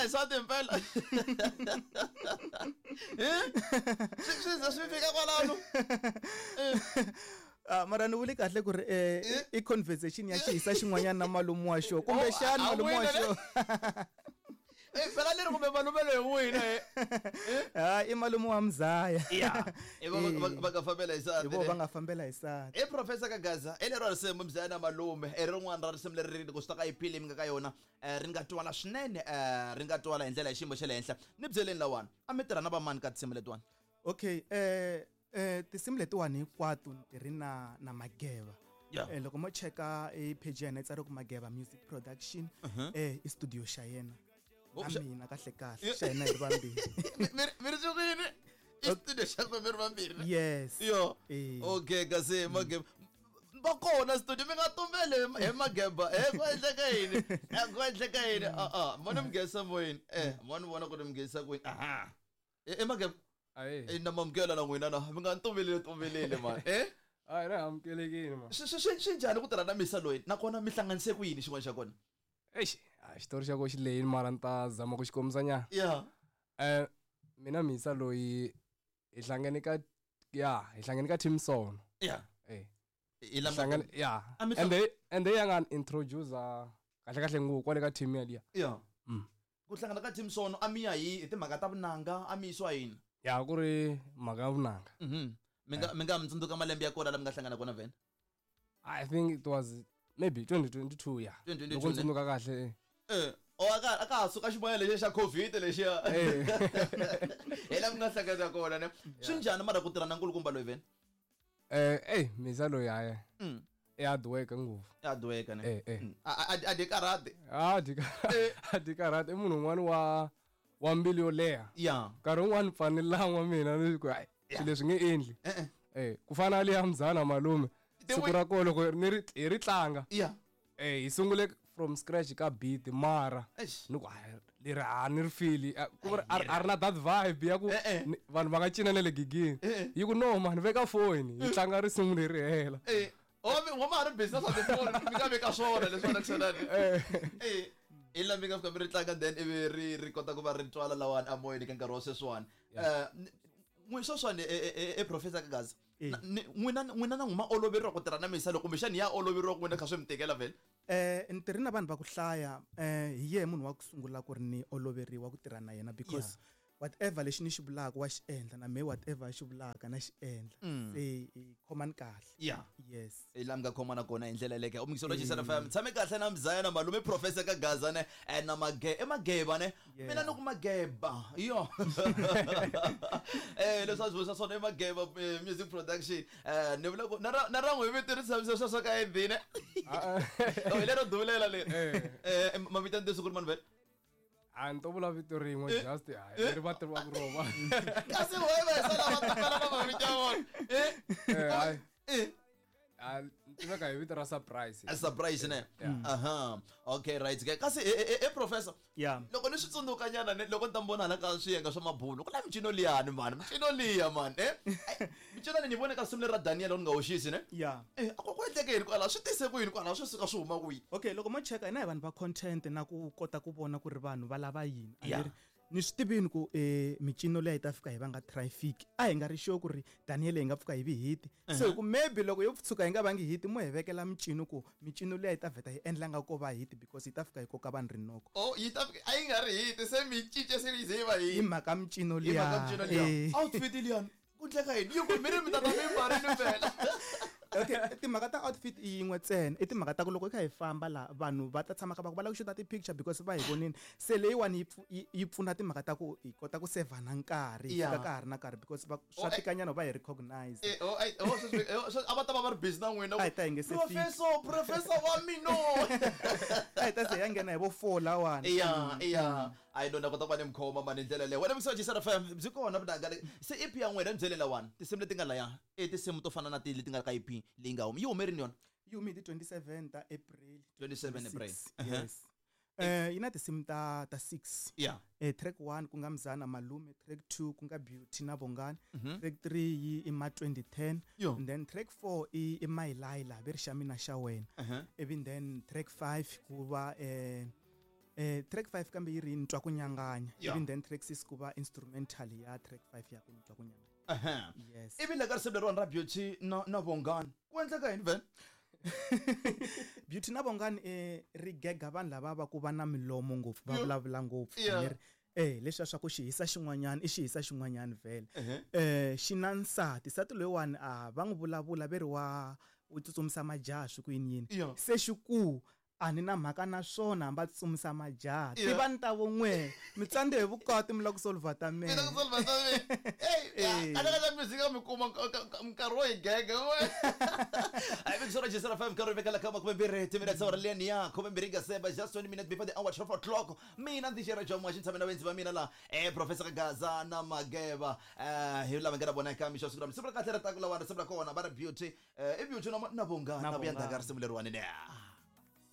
hi nsati mpela. Eh? Swi ze swi fika kwalano. Ah, mara ni vule kahle ku ri i conversation ya xihisa xin'wanyana na malume wa xo kumbexana Oh, a malume wa wina xo Eh, phela leri kumbe malume loyi wina eh. ha i malume wa mzaya. Ya. Eh, va nga fambela hi Hi nsati. vo va nga fambela hi nsati. I professor Kagaza i lero risimu mzaya na malume i rin'wana ra risimu leri loko swi ta ka EP leyi mi nga ka yona ri nga twala swinene ri nga twala hi ndlela ya xiyimo xa le henhla. Ni byeleni lawani a mi tirha na vamani ka tinsimu letiwani? Okay, tinsimu letiwani hinkwato ni tirhi na Mageva. Loko mo cheka e page ya yena yi tsariwe ku Mageva Music Production, i studio xa yena. Oh, Na mina kahle kahle xa hina hi ri vambirhi. Mi ri sukile i studio xa ku mi ri vambirhi? Yes. Yo. Eh. Okay, kasi Mageba va kona studio, mi nga tumbeli hi Mageba. Ku endleka yini? Ku endleka yini? A mo ni mi nghenisa moyeni. Mo ni vona ku ni mi nghenisa kwini. Aha. Mageba. Ayi. Na mamukela na n'wina na mi nga tumbeleli tumbeleli man. Ayi, na amukelekile man. Swi njhani ku tirha na misa loyi nakona mi hlanganise ku yini xin'wana xa kona? Eish, a xitori xa ko xi lehile mara ni ta zama ku xi kombisa nyana. Mina misa loyi hi hlangane ka ya, hi hlangane ka Team Sono. I lama Hlangane, ya. A mi And they ya nga introduce kahle kahle ngopfu kwale ka team yaliya. Ku hlangana ka Team Sono a mi ya hi timhaka ta vunanga, a mi yisiwa yini? Ya, ku ri mhaka ya vunanga. Mi nga mi tsundzuka malembe ya kona la mi nga hlangana kona vhene? I think it was maybe 2022, ya. 2022, Loko ndzi ne? tsundzuka kahle. O a ka ha suka ximoya lexiya xa COVID lexiya. Hi la mi nga hlangana kona ne. Swi njhani mara ku tirha na nkulukumba loyi vhene? Misa loyi hayi. I hard work ngopfu. I hard work ne. A di karate. A di a di karate. I munhu un'wana wa mbilu yo leha. Nkarhi wun'wani pfa ni lan'wa mina ni ku, ai, swilo leswi nge endli. Ku fana na liya mzana malume. Siku ra kona loko ni ri, hi ri tlanga. Hi sungule from scratch ka beat mara. Eish. Ni ku, ai, leri a ni ri feel-i. Ku ri, a ri na that vibe ya ku vanhu va nga cina na le gigini. Yi ku, no man, veka phone, hi tlanga risimu leri hela. Wa ma ha ri busy na swa tifoni, mi nga veka swona leswi va na hi la mi nga fika mi ri tlanga then ivi ri kota ku va ri twala lawani a moyeni ka nkarhi wa sweswiwani. N'wi sweswiwani, Professor Kagaza. N'wina na n'wina ma oloveriwa ku tirha na misa loko kumbexani ya oloveriwa ku n'wina kha swi mi tikela vhele? Ni tirhi na vanhu va ku hlaya, hi yehe munhu wa ku sungula ku ri ni oloveriwa ku tirha na yena because whatever lexi ni xi vulaka wa xi endla na mehe whatever xi vulaka na xi endla. Se hi khomani kahle. Yes. Hi laha mi nga khomana kona hi ndlela yeleyo. U mingiselo Jisana FM. Tshame kahle na Mzaya na malume Professor Kagaza ne, na i Mageba ne. Mina ni ku Mageba. Yo. Leswi a swi vurisa swona i Mageba Music Production. Ni vula ku na ra n'wi vito ri tshamisa sweswo ka Eddie ne. Oh, hi lero dulela leri. Mavito ya ntiyiso ku ri mani vhele? A ni to vula vito rin'we, just, hayi, leri va tivaka rona. Kasi wena va sala va tivela na mavito ya vona. Hayi. A ni tiveka hi vito ra Surprise. A Surprise ne? Aha. Okay, right. Ke kasi Professor. Loko ni swi tsundzuka nyana ne, loko ni ta mi vona hala ka swiyenge swa mabulu, ku na mincino liyani man, mincino liya man. Mincino leyi ni vone ka risimu leri ra Daniel ni nga hoxisi ne? A ku endleke yini kwalaho? Swi tise ku yini kwalaho? Swi suka swi huma kwihi? Okay, loko mo cheka hina hi vanhu va content na ku kota ku vona ku ri vanhu va lava yini. A ni ri ni swi tivini ku mincino leyi ta fika hi va nga traffic. A hi nga ri sure ku ri Daniel hi nga pfuka hi vi hit. So ku maybe loko yo tshuka hi nga vangi hit, mo hi vekela mincino ku mincino leyi ta vheta hi endla nga ko va hit because yi ta fika hi koka vanhu rinoko. Oh, yi ta fika, a yi nga ri hit, se mi cince se yi ze yi va hit. Hi mhaka mincino Hi mhaka liya. mincino liya. Outfit liyani. Ku endleka yini? Yi ku mi ri mi ta ta mi mbarile phela. Okay, timhaka ta outfit i yin'we ntsena. I timhaka ta ku loko hi kha hi famba laha vanhu va ta tshama kha va ku va lava ku xuta ti-picture because va hi vonile. Se leyiwani yi pfuna timhaka ta ku hi kota ku save na nkarhi, hi fika ka ha ri na nkarhi because swa tikanyana va hi recognize. Oh, oh, sweswi, sweswi a va ta va va ri busy na n'wina. A hi ta hi nge se fiki. Professor, professor wa mina. A hi ta ze hi ya nghena hi vo 4 lawani. A yi lona kota ku va ni mikhoma mani hi ndlela leyo. Wena Mixo Jisana FM, byi kona vunanga le. Se EP ya n'wina ni byele lawani, tinsimu leti nga laya, i tinsimu to fana na ti leti nga ka EP leyi nga huma. Yi hume rini yona? Yi hume hi ti 27 ta April. 27 April. Six. Yes. Yi na tinsimu ta 6. Track 1 ku nga Mzana Malume, track 2 ku nga Beauty na Bongani, track 3 yi i ma 2010, and then track 4 i My Laila, ve ri xa mina xa wena. Ivi then track 5 ku va Track 5 kambe yi ri ni twa ku nyanganya. Yeah. Ivi then track 6 ku va instrumental ya track 5 ya ku ni twa ku nyanganya. Yes. Ivi le ka risimu leriwani ra Beauty na Bongani, ku endleka yini vhele? Beauty na Bongani ri gega vanhu lava va ku va na milomo ngopfu, va vulavula ngopfu. Leri leswiya swa ku xihisa xin'wanyana i xihisa xin'wanyana vhele. Xi na nsati, nsati loyiwani a va n'wi vulavula ve ri wa u tsutsumisa majaha swi ku yini yini. Se xi ku a ni na mhaka na swona hambi a tsutsumisa majaha. Tivani ta von'we, mi tsandze hi vukati mi lava ku solver ta mehe. Mi lava ku solver ta mehe. Hey, kahle kahle music mi kuma nkarhi wo hi gega we. Ai mi sora Jisara 5 nkarhi vekela ka makume mbirhi timinetse awara liyani ya khume mbirhi nga seba just 20 minutes before the hour 12 o'clock. Mina ndzi xera Jomo xi tshame na vendzi va mina la Professor Gaza na Mageva hi lava nga na vona eka mixo siku ra siku ra kahle ra taku lawa risimu ra kona va ri Beauty i Beauty na Bongani Na na vuya ndzhaku ka Bongani. risimu leriwani ne.